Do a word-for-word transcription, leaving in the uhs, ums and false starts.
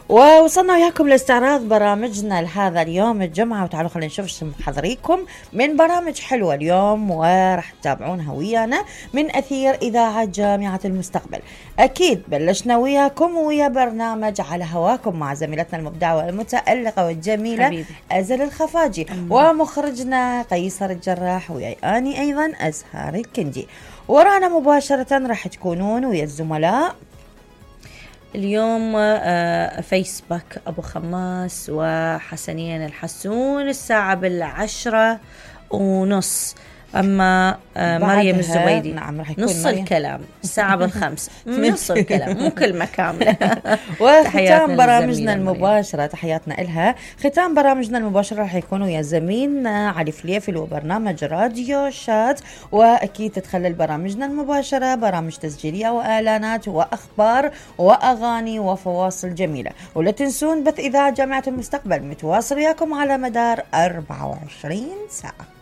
ووصلنا وياكم لاستعراض برامجنا لهذا اليوم الجمعة، وتعالوا خلينا نشوف شو محضريكم من برامج حلوة اليوم وراح تتابعونها ويانا من أثير إذاعة جامعة المستقبل. أكيد بلشنا وياكم ويا برنامج على هواكم مع زميلتنا المبدعة والمتألقة والجميلة حبيبي أزل الخفاجي أمم. ومخرجنا قيصر الجراح، وياي أني أيضا أزهار الكندي. ورانا مباشرة راح تكونون ويا الزملاء اليوم فيسبوك أبو خماس وحسنين الحسون الساعة بالعشرة ونص. أما مريم الزبيدي نعم راح يكون نص مريم. الكلام الساعة بالخمسة نص الكلام مو كلمة كاملة. وختام برامجنا المباشرة تحياتنا إلها. ختام برامجنا المباشرة راح يكونوا يا زميلنا علي فليفل وبرنامج راديو شات. وأكيد تتخلل برامجنا المباشرة برامج تسجيلية وإعلانات وأخبار وأغاني وفواصل جميلة. ولا تنسون بث إذاعة جامعة المستقبل متواصل وياكم على مدار أربعة وعشرين ساعة.